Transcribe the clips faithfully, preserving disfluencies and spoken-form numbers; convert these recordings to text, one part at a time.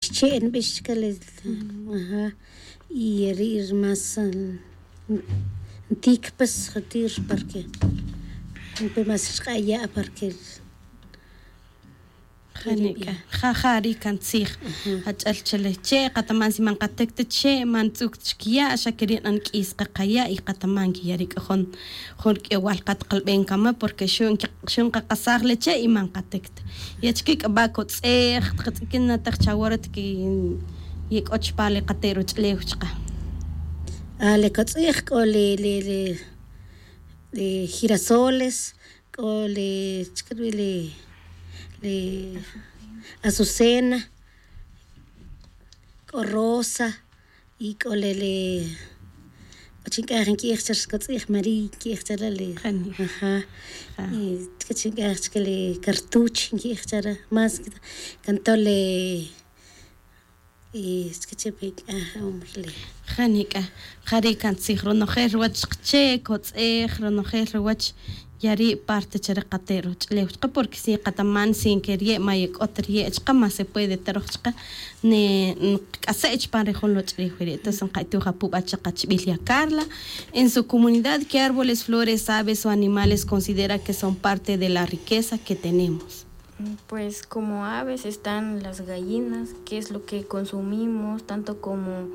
Che' nbix chike le. Aha. Y ri' ri más ntik pues, jati' ri parque npe más xq'a' ya' parque. Janik'a. Ja ja ri' kan tzij. Ach'el che le che' qataman si man qatik ta che' man tz'uk ta chkiya' xa keri' q'ank'is qaqaya' y qataman kiya' ri' k'a jun jun rk'iyowal qatqalb'en kama porque xu' nqaqasaj le che' y man qatik ta. Y achike k'a b'a kotz'ej tqatz'ikin na teq chawora tiki ye k'o chpa le qate' ruch'lew chqa? A le kotz'ej k'o le le le girasoles, k'o le chike rub'i le le azucena, k'o rosa, y k'o le le k'o chi nk'aj nki'ij chare kotz'ij mariy nki'ij chare le. Jaja. Y chike chi nk'aj chike le kartuch nki'ij chare más. Kanto le y chike chi pe nk'aj. Janik'a. Jari' kan tzij ronojel ruwach qche' kotz'ej ronojel ruwach. Yari' parte chare qate' ruch'lew chaqe porque si qataman si nkeriye' ma yek'ot riye' chaqe ma se puede ta roj chaqe. Nqak'ase' chupan ri jun loch'riw wiri'. Entonces nqa'ituj apu' b'a chaq achib'il ya Carla. En su comunidad, ¿qué árboles, flores, aves o animales considera que son parte de la riqueza que tenemos? Pues como aves están las gallinas, que es lo que consumimos, tanto como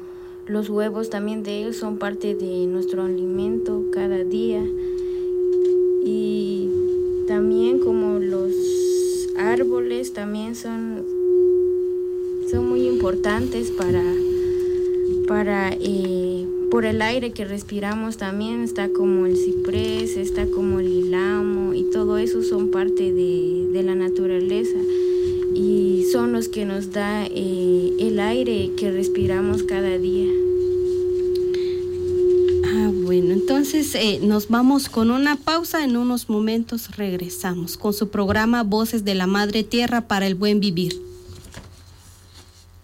los huevos también de ellos son parte de nuestro alimento cada día. Y también como los árboles también son, son muy importantes para, para eh, por el aire que respiramos también, está como el ciprés, está como el ilamo, y todo eso son parte de, de la naturaleza y son los que nos da eh, el aire que respiramos cada día. Ah, bueno, entonces eh, nos vamos con una pausa, en unos momentos regresamos con su programa Voces de la Madre Tierra para el Buen Vivir.